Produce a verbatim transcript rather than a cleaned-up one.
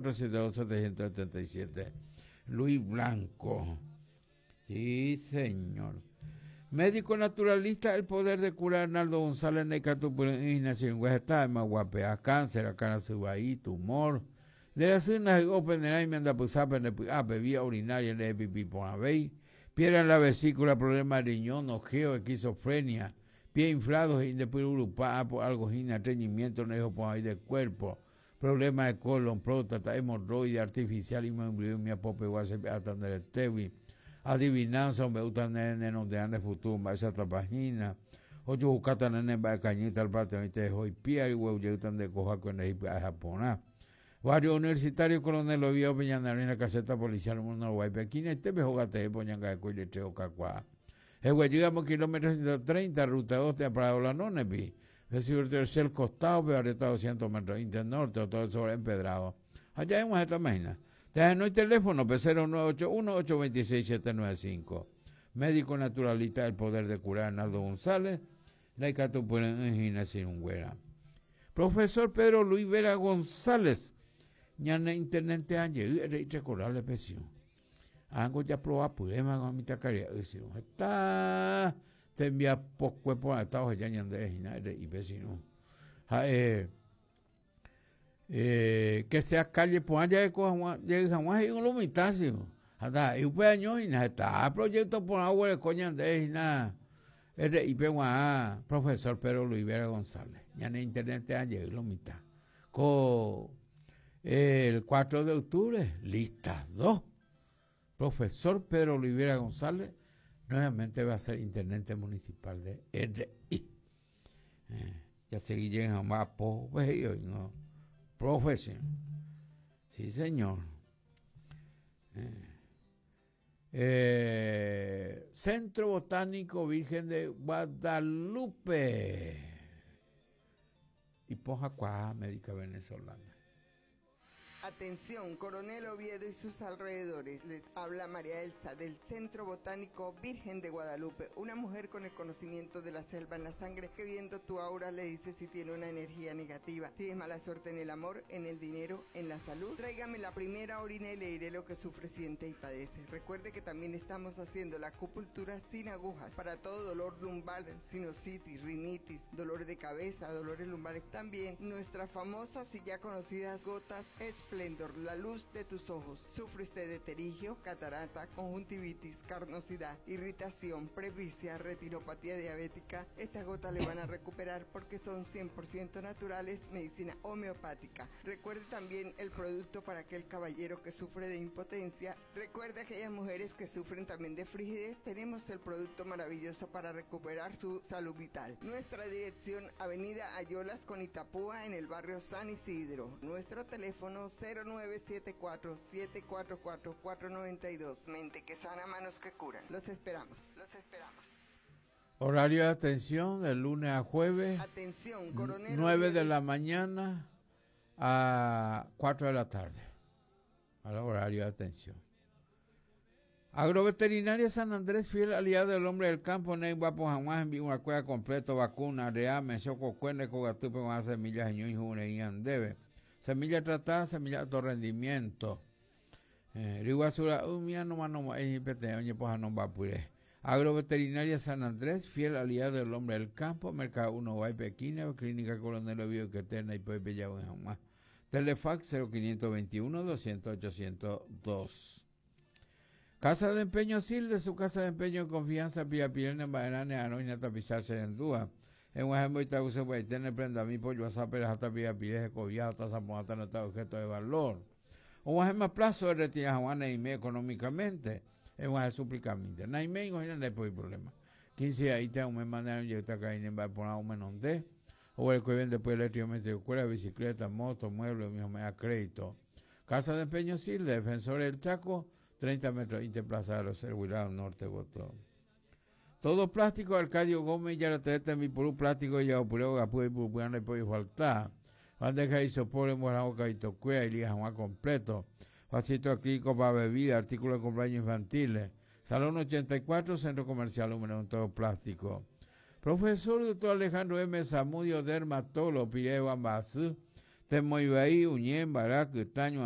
cuatro siete dos setecientos setenta y siete. Luis Blanco. Sí, señor. Médico naturalista, el poder de curar. Arnaldo González, está guapea, cáncer, tumor. De la vía urinaria, piedra en la vesícula, problema de riñón, ojeo, esquizofrenia, pie inflados, por algo, estreñimiento, ahí del cuerpo, problema de colon, próstata, hemorroide artificial, y adivinanza, hombre, utan donde ande futuro, esa página. Ocho bukata nene ba cañita al parte de hoy pia y huevo de coja con el Japón. Barrio Universitario Coronel Oviedo Peñanarina, caseta policial uno Guaypequina, este mejogate poñanga de coile treo cacua. Llegamos kilómetros ciento treinta, ruta dos de Prado la Nonepi. Recibir tercer costado, pero arrestado doscientos metros norte, todo sobre empedrado. Allá en esta máquina. No hay teléfono, P cero nueve ocho uno, ocho dos seis, siete nueve cinco. Médico naturalista del poder de curar, Arnaldo González, la. Profesor Pedro Luis Vera González, ñane intendente anje, recordarle presión. Ango ya proba purema con mi tacaria, está te envía poco por estado ya ñande hina y vecino. Eh, eh, que sea calle pues allá de Juan y un mitad. Anda y upe año y está proyecto por agua de coña de hina R I P profesor Pedro Luis Vera González ñane intendente ayer lo mitad co el cuatro de octubre lista dos. Profesor Pedro Olivera González nuevamente va a ser intendente municipal de R I. Eh, ya seguí llegando más no profesión. Sí, señor. Eh, eh, Centro Botánico Virgen de Guadalupe. Y Poja Médica Venezolana. Atención, Coronel Oviedo y sus alrededores. Les habla María Elsa del Centro Botánico Virgen de Guadalupe, una mujer con el conocimiento de la selva en la sangre que viendo tu aura le dice si tiene una energía negativa, si es mala suerte en el amor, en el dinero, en la salud. Tráigame la primera orina y le diré lo que sufre, siente y padece. Recuerde que también estamos haciendo la acupuntura sin agujas para todo dolor lumbar, sinusitis, rinitis, dolor de cabeza, dolores lumbares. También nuestras famosas y ya conocidas gotas Esplendor, la luz de tus ojos. ¿Sufre usted de pterigio, catarata, conjuntivitis, carnosidad, irritación, presbicia, retinopatía diabética? Estas gotas le van a recuperar porque son cien por ciento naturales, medicina homeopática. Recuerde también el producto para aquel caballero que sufre de impotencia. Recuerde aquellas mujeres que sufren también de frigidez. Tenemos el producto maravilloso para recuperar su salud vital. Nuestra dirección, Avenida Ayolas con Itapúa, en el barrio San Isidro. Nuestro teléfono cero nueve siete cuatro, siete cuatro cuatro, cuatro nueve dos. Mente que sana, manos que curan. Los esperamos, los esperamos. Horario de atención de lunes a jueves. Atención, coronel. nueve de la mañana a cuatro de la tarde. Al horario de atención. Agroveterinaria San Andrés, fiel aliado del hombre del campo, Ney Guapo Jamás, envío una cueva completo, vacuna, reame, choco, cuene, cogatupe, con semillas, y andebe. Semilla tratada, semilla de alto rendimiento. Eh, Riguazura, umia no mano, Agroveterinaria San Andrés, fiel aliado del hombre del campo, Mercado uno Guaypequina, Clínica Coronel Oviedo Queterna y Puebla Jamás. Telefax cero quinientos veintiuno doscientos ochocientos dos. Casa de Empeño Sil, de su casa de empeño en confianza, Pia Pirene, Baerane, Anoina, Tapizar, Serendúa. En Guajembo y Taguse, Guaitene, Prenda, mi pollo, Azapera, Jata, Pia Pireje, Cobiado, Taza, Ponata, no objeto de valor. O Guajema plazo de retirar Juana y me económicamente. En Guaje súplicamente. Naime, no hay problema. quince ahí te un me mandaron yo está acá en va por un menonde. O el que vende después eléctricamente escuela, bicicleta, moto, muebles, mismo me da crédito. Casa de Empeño Sil, Defensor del Chaco, treinta metros, Interplaza de los Servilado Norte, Botón. Todo plástico, Arcadio Gómez, ya la teta mi por un plástico, ya opureo, gapu y purpuano y pollo falta. Bandeja y sopor, en boca y tocuea y lija completo. Vasito acrílico para bebida, artículos de cumpleaños infantiles. Salón ochenta y cuatro, Centro Comercial número uno, todo plástico. Profesor doctor Alejandro M. Zamudio, dermatólogo, Pireo Ambasú, Temoibaí, Uñén, Barac, Taño,